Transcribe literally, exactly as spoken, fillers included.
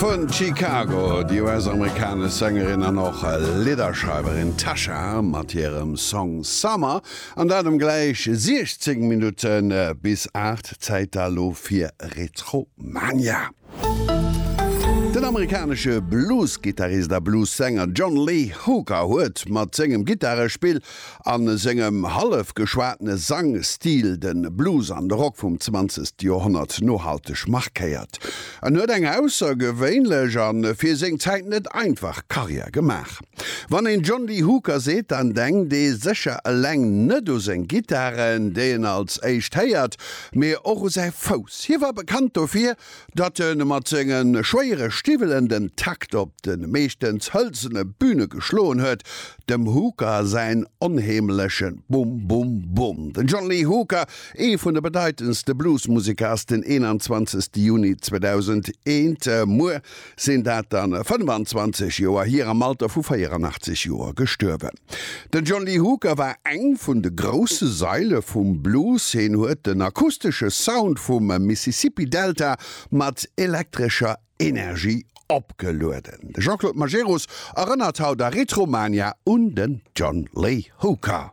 Vun Chicago, déi U S-amerikanesch Sängerin an och Lidderschreiwerin Tasha mat hirem Song Summer. An dat um gläich siechzéng Minutte bis aacht. Zäit da lo fir Retromania. Den amerikanesche Blues-Gittarist a Blues-Sänger John Lee Hooker huet mat sengem Gittarespill a sengem hallef geschwatene Sangstil de Blues an de Rock vum zwanzegste Joerhonnert nohalteg markéiert. En huet eng aussergewéinlech a fir seng Zäit net einfach Karriär gemaach. Wann een John Lee Hooker seet, dann denkt ee sécher eleng net u seng Gittaren, déi een als éischt héiert, mee och u säi Fouss. Hie war bekannt dofir, datt e mat senge schwéiere Stiwwelen den Takt op de meeschtens hëlzene Büne geschloen huet, dem Hooker säin onheemleche Bum Bum Bum. Den John Lee Hooker, ee vun de bedeitendste Bluesmuseker, ass den eenanzwanzegste Juni zweedausendeent, muer sinn dat dann fënnefanzwanzeg Joer hier, am Alter vu véieranaachtzeg Joer gestuerwen. Den John Lee Hooker war eng vun de grousse Saile vum Blues. Hien huet den akustesche Sound vum Mississippi Delta mat elektrescher Energie opgelueden. De Jean-Claude Majerus erënnert haut a Retromania un den John Lee Hooker.